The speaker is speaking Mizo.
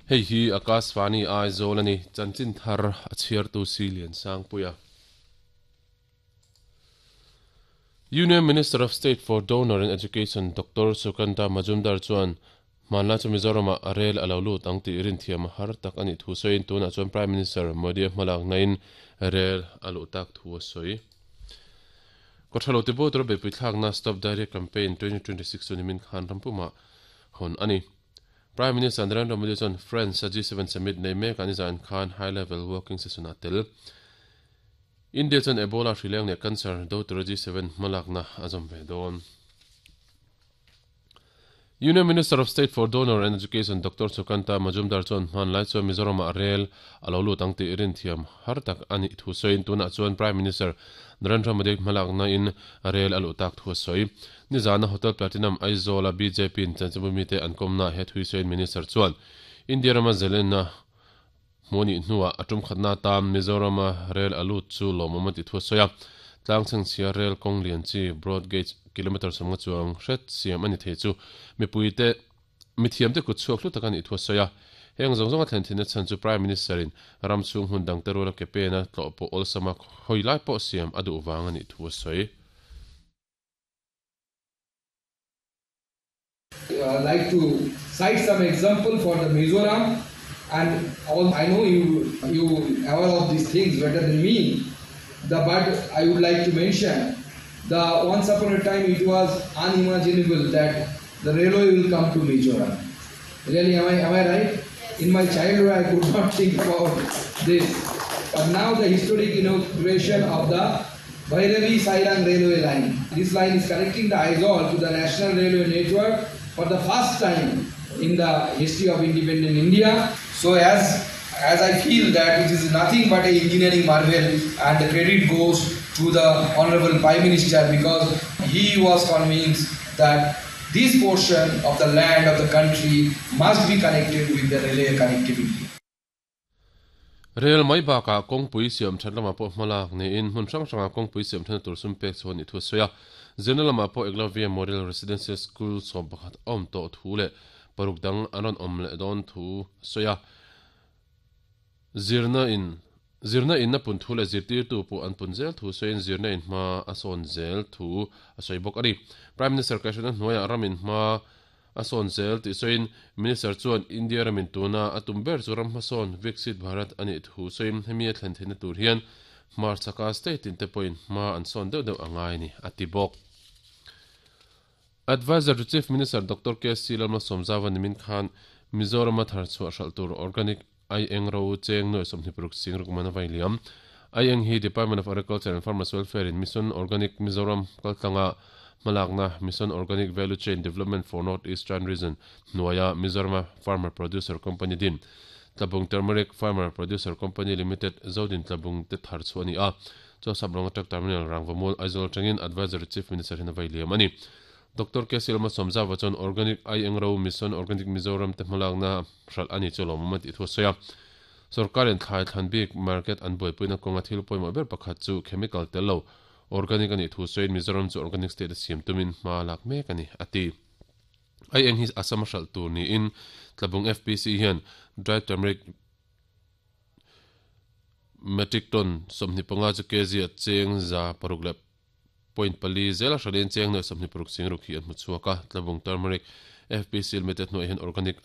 Hei hi Akashvani Aizawl a ni, chanchin thar a chhiartu si Liansangpuia. Union Minister of State for Donor and Education Doctor Sukanta Majumdar chuan hmanlai chu Mizoramah a rel a lo lut ang tih rinthiam a har tak a nih thu sawiin tunah chuan Prime Minister Modi-a hmalaknain rel a luh tak thu a sawi. Kawthalo tibo tura beihpui thlakna Stop Diarrhea Campaign 2026 chu nimin khan rampumah hawn a ni. Prime Minister Narendra Modi chuan France-a G7 summit nei mekah nizan khan high level working session ah tel. India chuan Ebola hrileng leh cancer do tura G7 hmalakna a zawm ve dawn. Union Minister of State for Donor and Education Doctor Sukanta Majumdar chuan hmanlai chuan Mizoramah rel a lo lut ang tih rinthiam har tak a nih thu sawiin tunah chuan Prime Minister Narendra Modi hmalakna in rel a luh tak thu a sawi. Nizana Hotel Platinum Aizawl-a BJP-in chanchinbu mite an kawmnaah he thui sawiin Minister chuan India rama zelenna hmuh a nih hnuah a tum khatna atan Mizorama rel a lut chu lawmawm a ti thu a sawi a. Tlangchhengchhia rel kawng lian chi broad gauge kilometre sawmnga chuang hret siam a ni thei chu mipuite Mithiamte kut chhuak hlu tak a nih thu a sawi a. Heng zawng zawnga thlen thinna chhan chu Prime Minister-in ram chhung hmun dangte ruala ke pena tlawh pawh awlsama hawi lai pawh siam a duh vang a nih thu a sawi. Like to cite some example for the Mizoram and all I know you you aware of these things better than me the but I would like to mention the once upon a time it was unimaginable that the railway will come to Mizoram really am I am I right in my childhood I could not think about this but now the historic inauguration of the Bhairavi Sairang railway line. This line is connecting the Aizawl to the national railway network for the first time in the history of independent India. So as as I feel that it is nothing but an engineering marvel and the credit goes to the Honorable Prime Minister because he was convinced that this portion of the land of the country must be connected with the railway connectivity. Rel mai bakah kawngpui siam that lamah pawh hmalak niin hmun hrang hrangah kawngpui siam thatna tur sum pek chhuah a nih thu a sawi a. Zirna lamah pawh Eklavya Model Residential School 11 a awm tawh thu leh paruk dang an rawn awm leh dawn thu a sawi a. Zirna in Zirna in a pun thu leh zirtirtu pawh an pun zel thu sawiin zirna in hma a sawn zel thu a sawi bawk a ni. Prime Minister Kaihhruaina hnuaiah ram in hma a sawn zel tih sawiin Minister chuan India ramin tuna a tum ber chu ram hmasawn Viksit Bharat a nih thu sawiin hemi a thlen theihna tur hian hmarchhaka state tin te pawhin hma an sawn deuh deuh a ngai a ni, a ti bawk. Adviser to Chief Minister Doctor KC Lalmalsawmzauva nimin khan Mizorama thar chhuah hralh tur organic Ai eng ro cheng nuai 26 sing ruk man a vai liam. Ai eng hi Department of Agriculture and Farmers Welfare in Mission Organic Mizoram kaltlanga hmalakna Mission Organic Value Chain Development for North Eastern Region hnuaia Mizorama Farmer Producer Company din Tlabung Turmeric Farmer Producer Company Limited Zodin Tlabung te thar chhuah a ni a. Chaw Saprawnga Truck Terminal Rangvamul Aizawl atangin Advisory Chief Minister hian a vai liam a ni. Doctor K Silma Sawmzava chuan Organic Ai Eng Ro Mission Organic Mizoram te hmalakna hralh a ni chu lawmawm a tih thu a sawi a. Sorkarin thlai thlan bik market an buaipuina kawnga thil pawimawh ber pakhat chu chemical tel lo organic a nih thu sawiin Mizoram chu organic state a siam tumin hma lak mek a ni, a ti. Ai eng hi Assam a hralh tur niin Tlabung FPC hian dry turmeric metric ton 25 chu kg a cheng 600 leh Point pali zela hralin cheng nuai 26 sing ruk hi an hmu chhuak a, Tlabung Turmeric FPC Limited hnuaiah hian organic.